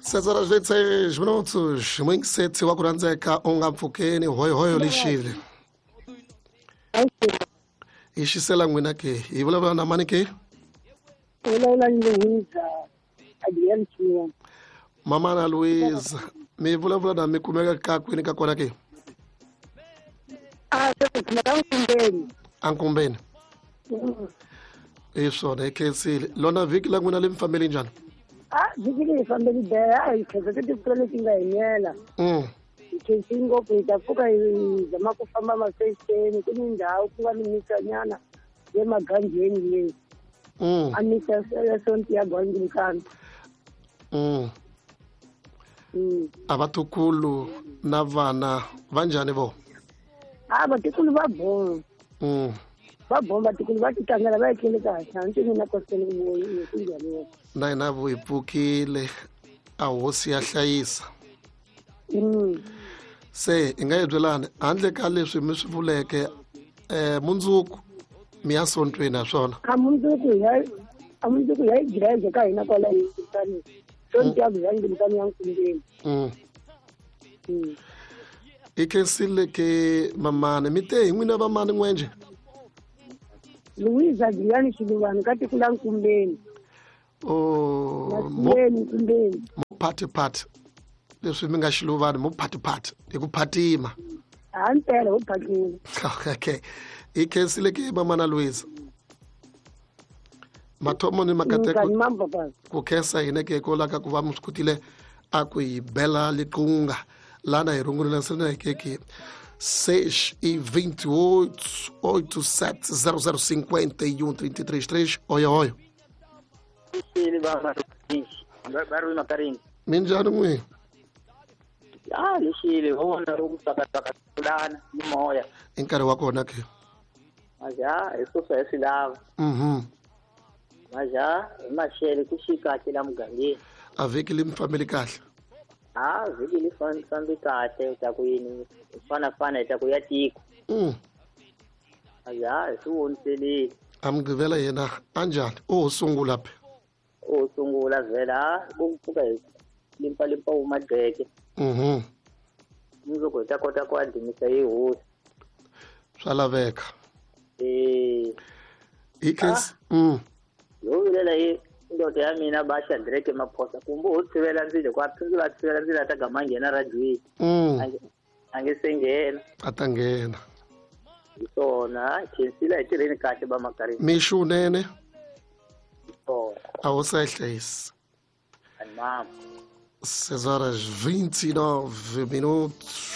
6 horas 26 minutos. Mwingiseti wa ku rhandzeka u nga mpfukeni hoyohoyo lexile. Hi xisela n'wina ke hi vulavula na mani ke? Vulavula ni Louisa Adrian Chiwa. Mamana Louisa, mi vulavula na mi kumeka ka kwini ka kona ke? A se kumeka Nkumbeni. Ankumbeni. Hi swona hi khensile. Lona vhiki la n'wina li mi fambele njhani? A vhiki leyi fambeli beha a hi khensa ti timpfula leti nga hi nela. Hi khensile ngopfu hi ta pfuka hi zama ku famba mafexeni ku ni ndhawu ku nga ni misanyana le maganjeni le. A misa ya sonti ya Anglican. A vatukulu na vana va njhani vo? A vatukulu va boma. Va boma vatukulu va titlangela va etlele kahle hambi mina koseni ku voyi ku njhani. Na hina vo hi pfukile a hosi ya hlayisa. Se hi nga yi byelani handle ka leswi mi swi vuleke mundzuku mi ya sontweni ha swona? A mundzuku ya hi gireze ka hina kwala hi Nkumbeni. Sonto ya Anglican ya Nkumbeni. I khensile ke mamani mi te hi n'wina vamani n'wenje? Louisa Adrian Xiluvani ka tiko la Nkumbeni. Oh, Nkumbeni. Mo party party. Leswi mi nga Xiluvani mo party party hi ku phatima. A mpela ho phatima. Okay. I khensile ke mamana Louisa. Mathomo ni makateko ku khensa hina ke ko laka ku va mi swi kotile a ku hi bela liqunga lana hi rungulela sena hi keke 6 e 28 8 7 0 0 51 33 3. Oyo oyo. Minjhani n'wina? A lexile ho vona ro ku tsakatsaka kulana ni moya. I nkarhi wa kona ke? Maja hi sweswo hi swi lava. Maja hi maxele ku xi kahle la mugangeni. A vhiki li mi fambeli kahle? A vhiki li fambi kahle ta ku yini fanafana hi ta ku ya tiko. Maja hi swi voniselile. A mugqivela yena a njhani? O sungula phe. O sungula vhela ku pfuka hi limpalimpa wu madleke. Mundzuku hi ta kota ku adimisa hi hosi. Swa laveka. Hi khensa. Yo vilela hi ndoto ya mina ba Shadrack Maphosa kumbe ho tshivela ndzilo ku a phindze va tshivela ndzilo a ta gama nghena radioweni. A nge se nghena. A ta nghena. Hi swona khensile hi tirheni kahle ba Makarini. Mixo unene. A hosi a yi hlayisi. Mama. 6 horas 29 minutos.